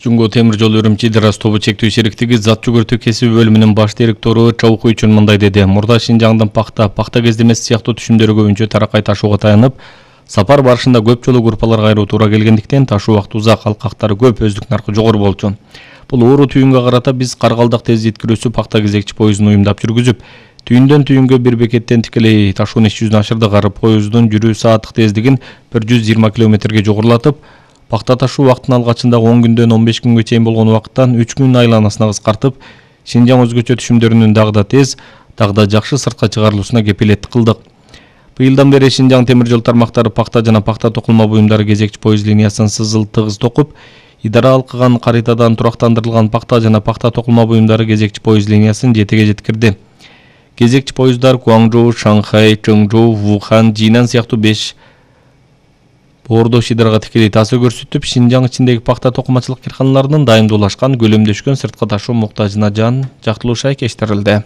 Жумго темир жол Үрүмчи Дырас тобу чектүү шериктиги зат жүгүртүү кесиби бөлүмүнүн баш директору Чабукуй үчүн мындай деди. Мурда Шинжаңдын пахта кездемеси сыяктуу түшүмдөрү көбүнчө таракай ташууга таянып, сапар барышында көп жолу группаларга айруу туура келгендиктен ташуу убакыты узак, алкактары көп, өздүк наркы жогору болчу. Бул ууру түйүнгө карата биз Каргалдак тез жеткирүүчү пахта кезекчи поездун уюмдап жүргүзүп, түйүндөн түйүнгө бир бекеттен тикелей ташуунун иш жүзүн ашырдык. Поезддун жүрүү сааттык тездигин 120 км жогорулатып, пахта ташуу убактын алгачында 10 күндөн 15 күнгө чейин болгон убакыттан 3 күн айланасына кыскартып, Шинжаң өзгөчө түшүмдөрүнүн дагы да тез, дагы да жакшы сыртка чыгарылуусуна кепилеттик кылдык. Быйылдан бери Шинжаң темир жол тармактары пахта жана пахта токулма буюмдары кезекчи поезд линиясын сызыл-тыгыз токуп, идара алкыган каритадан турактандырылган пахта жана пахта токулма буюмдары кезекчи поезд линиясын жетеге жеткирди. Кезекчи поезддар Гуаңжоу, Шанхай, Чоңжоу, Вухан, Жинан сыяктуу 5 боордо шидарга тикелей таасир көрсөтүп, Шинжаң ичиндеги пахта токумачылык кыйрканаларынын дайымдуулашкан, көлөмдөшкөн сырткы ташуу муктажына жан жактылуу шайкештирилди.